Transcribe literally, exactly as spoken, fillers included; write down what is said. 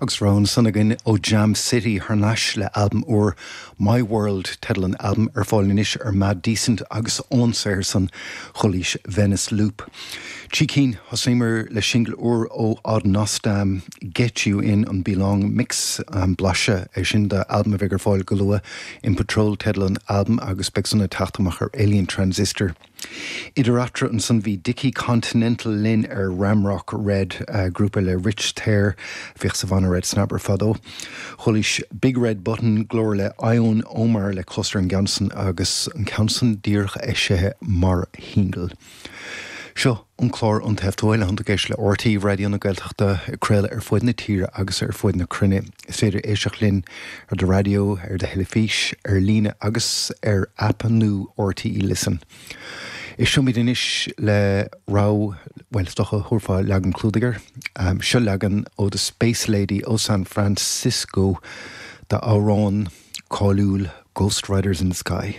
Agus rogha ansan againn ó Jam City thar n-ais le albam úr My World teideal an albaim ar fáil anois ar Mad Decent agus ón saothar san chualaís Venice Loop. Trí cinn thosaíomar le singil úr ó Odd Nosdam Get You In an Belong Mix um, blaiseadh é sin de albam a bheidh ar fáil go luath in Patrol teideal an albaim agus beidh san ag teacht amach ar Alien Transistor. Idir eatarthu ansan bhí Dickie Continental linn ar Ramrock Red uh, grúpa le Rich Thayer bhíodh sa bhanna Red Snapper fadó. Chualaís Big Red Button glór le Ion Omar le cluster an Ganson agus an ceann san díreach eisithe mar shingil. Seo an clár An Taobh Thuaidh le géis le RTÉ Raidió na Gaeltachta ag craoladh ar fud na tíre agus ar fud na cruinne. Is féidir éisteacht linn ar do raidió, ar do theilifís, ar líne agus ar aip nua RTÉ Listen. Éistfimid anois le rogha well stocha thuirfá leagan clúdaigh. Um, seo leagan ó The Space Lady ó San Francisco d'amhrán cáiliúil Ghost Riders in the Sky.